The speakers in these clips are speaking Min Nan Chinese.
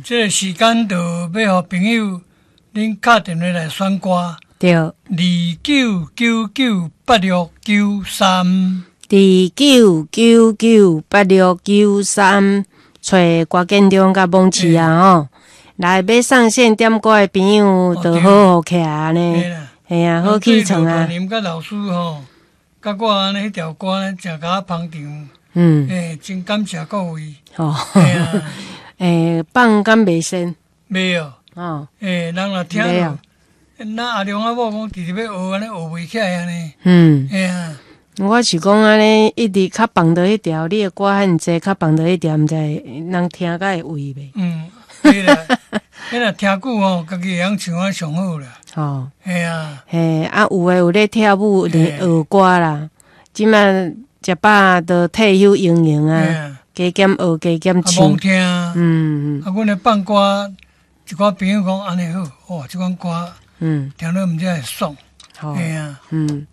這個時間就欲予朋友恁敲電話來選歌。29998693。29998693，揣郭建中佮網市啊吼，來欲上線點歌的朋友，就好好起來呢。嘿啊，好起床啊！林佮老師吼，佮我按呢彼條歌呢，誠共我捧場。欸，真感謝各位。哦。欸，放敢袂先？袂哦。哦。欸，人若聽著，那阿良阿某講，直直欲學按呢，學袂起來按呢。嘿啊。我是講按呢，一直較放著彼條，你的歌遐爾濟，較放著彼條，毋知人聽甲會胃袂？嗯，對啦，彼若聽久吼，家己會曉唱啊上好啦。吼。嘿啊。嘿，啊，有的有咧跳舞，咧學歌啦。這馬食飽就退休營營啊，加減學加減唱。啊，聽。啊，阮咧放歌，一寡朋友講按呢好，哇，這款歌，聽了毋知會爽。嘿啊，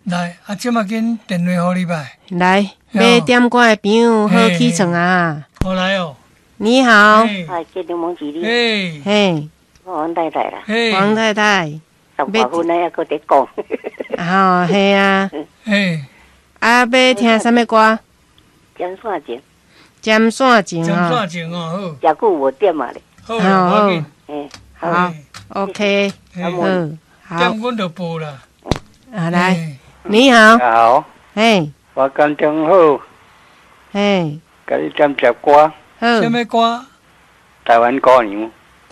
來，啊，這馬緊電話予你吧。來，欲點歌的朋友好起床啊！好來哦。你好。哎，這兩問一你。嘿。嘿。黃太太啦。黃太太。18分了，猶閣佇講。吼，係啊。嘿。啊，欲聽啥物歌？針線情。針線情針線情哦，好。誠久無點啊咧。好，好。好，OK。好。點阮就報啦。啊，來，你好。好。嘿。我感情好。嘿。共你點隻歌。好。啥物歌？台灣姑娘。